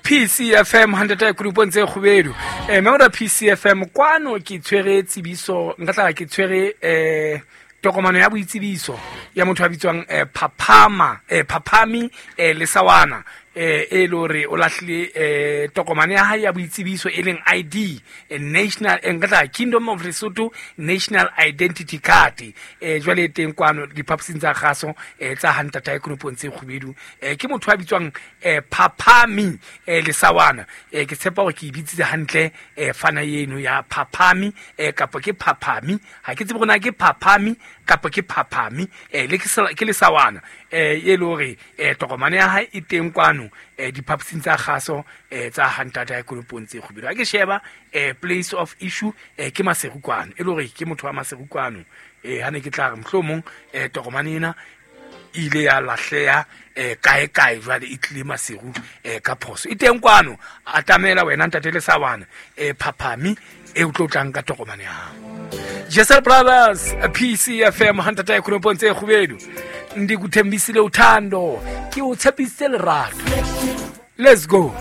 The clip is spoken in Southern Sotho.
PCFM 100 kulupong tse kgubedu. Memora PCFM kwano ke tshwere tsebiso, nka tla ke tshwere tokomano ya boitsebiso ya motho a bitswang Phaphama, Phaphami, Lesawana, e le hore o lahlile tokomane ya hae ya boitsebiso e leng ID, national, nka tla Kingdom of Lesotho National Identity Card. Jwale e teng kwano diphaposing tsa kgaso, tsa Hantata Konopong tse kgubedu. Ke motho a bitswang Phaphami, Lesawana. Ke tshepa hore ke e bitsitse hantle, fana eno ya Phaphami, kapa ke Phaphami, ha ke tsebe hore na ke Phaphami kapa ke Phaphami, le ke Lesawana, e le hore tokomane ya hae e teng kwano, diphaposing tsa kgaso, tsa Hantata Konopong tse kgubedu. Ha ke sheba, place of issue, ke Maseru kwano, e le hore ke motho wa Maseru kwano. Ha ne ke tla re mohlomong, tokomane ena e ile ya lahleha, kae kae, jwale e tlile Maseru, ka phoso. E teng kwano, atamela wena ntate Lesawana, Phaphami, e o tlo tlang ka tokomane ya hao. Jesel Brothers, PCFM Hantata Konopong tse kgubedu. Ndi kuthembisile uthando, ke o tshepisitse lerato. Let's go.